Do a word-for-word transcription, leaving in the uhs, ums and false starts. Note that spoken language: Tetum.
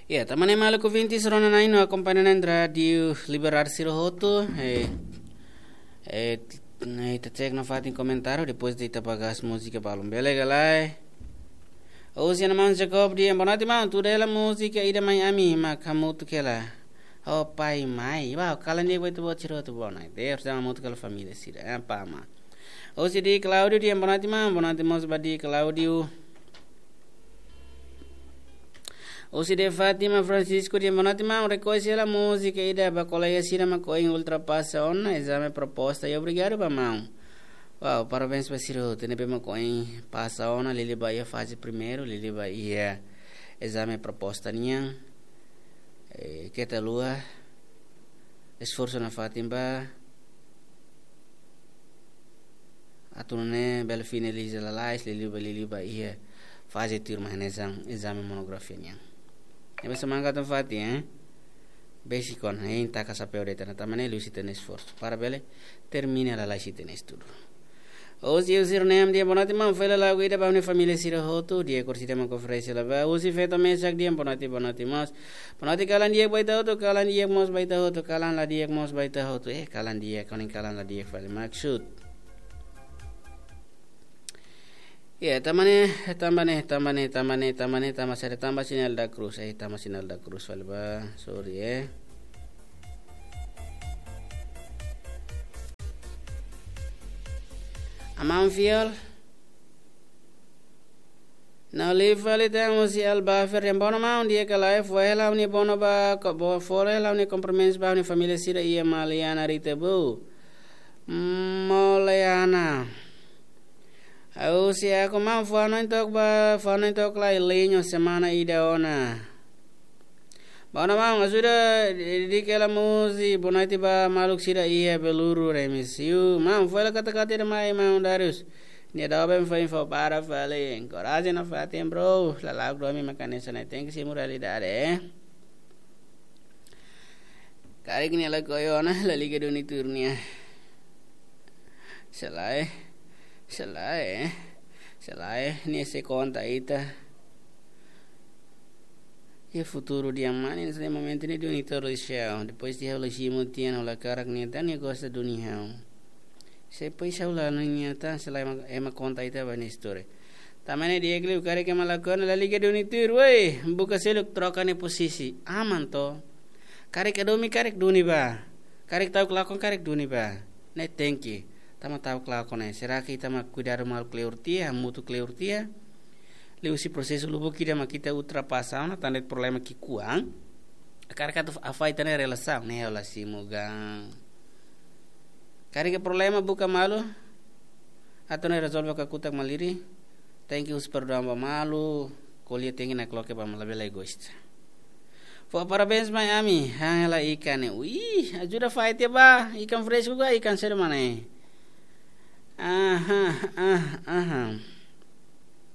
Ya, tanba ne'e maluk ouvintes, rona na'in no akompaña na'in rádiu Liberdade sira hotu, eh, eh, ne'e ita cek nafatin komentáriu, depois de ita bagas múzika balun. Bele ka lae? Husi maun Jacob dehan, boa noite maun, tuda hela múzika ida mai ami, mak hamutuk hela. Oh, pai mai, ba, kalan di'ak ba ita-boot sira hotu, boa noite. Deus sama hamutuk hela família sira, eh, pama. Husi Di Claudio dehan, boa noite maun, boa noite mós ba Di Claudio. Husi de Fátima Francisco dehan, boa noite maun, rekoñese hela múzika ida ba kolega sira mak ohin ultrapasa ona ezame proposta, i obrigadu ba maun. Wow, parabéns ba sira hotu ne'ebé mak ohin pasa ona, liuliu ba iha faze primeiru, liuliu ba iha ezame proposta nian. Eh, keta haluha esforsu nafatin ba atu nune'e bele finaliza lalais, liuliu ba, liuliu ba iha faze tuirmai hanesan ezame monografia nian. Ne'ebé semangat nafatin, eh? Besik ona, hein, taka xapeu de'it ona, tanba ne'e liuhusi ita-nia esforsu para bele termina lalais ita-nia estudu. Husi Eusir Neem dehan, boa noite maun, fó hela lagu ida ba ha'u-nia família sira hotu, di'ak orsida mak oferese hela ba. Husi Feto Mesak dehan, boa noite, boa noite mós. Boa noite, kalan di'ak ba ita hotu, kalan di'ak mós ba ita hotu, kalan la di'ak mós ba ita hotu. Eh, kalan di'ak, ko'alia kalan la di'ak fali maksud. Ya, tanba ne'e, tanba ne'e, tanba ne'e, tanba ne'e, tanba ne'e, tanba sira, tanba sinál da krús, eh, tanba sinál da krús fali ba, sorry, eh. Aman fiel. Nau li fali tan husi Al Bafer dehan, bono maun, di'ak ka lae, fó hela ha'u-nia bono ba, ko-, bo-, fó hela ha'u-nia kumprimentus ba ha'u-nia família sira iha Maliana Rita Bou. Maliana. Husi aku maun, fó hanoin took ba, fó hanoin took lai liño semana ida ona. Bono maun, ajuda di, di kela muzi, boa noite ba maluk sira iha Beluru, remisiu. Maun, fó hela kata-kata ida mai, maun Darius. Nia doben fó info para fali. Enkoraja nafatin, bro. Lala'ok domin mak hanesan ne'e, tenke simu realidade, eh. Karik nia lakohi ona, la liga duni tuur nia. Sei lae, sei lae, sei lae, nia sei konta ita. Iha futuru di'ak mane, nesse momento ne'e duni tuur lixão. Depois de ha'u la simu tiha ona, ha'u la hakarak nia, entaun nia gosta duni ha'u. Se pois ha'u la nia tan, sei lae ema, ema konta ita ba nia istória. Tanba ne'e di'ak liu, karik ema lakohi ona, la liga duni tuur, woi, buka seluk troka nia posisi. Aman to. Karik hadomi, karik duni ba. Karik ta'uk lakon, karik duni ba. Ne'e tenke. Tanba ta'uk lakon ne'e. Será que ita mak kuidadu malu kleur tiha, hamutuk kleur tiha? Liuhusi prosesu lubuk ida mak ita ultrapasa ona, tan de'it problema ki'ikoan. Karik atu afasta ita-nia relasaun, ne'e ha'u la simu gaan. Karik iha problema buka malu, atu nune'e rezolve kakutak malirin, tenke husu perdaun ba malu, ko'alia tenke nakloke ba malu, labele egoísta. Fó parabéns mai ami, han hela ikan ne'e. Ui, ajuda fai tiha ba, ikan fresku ka ikan saida mak ne'e? Aha, ah, aha.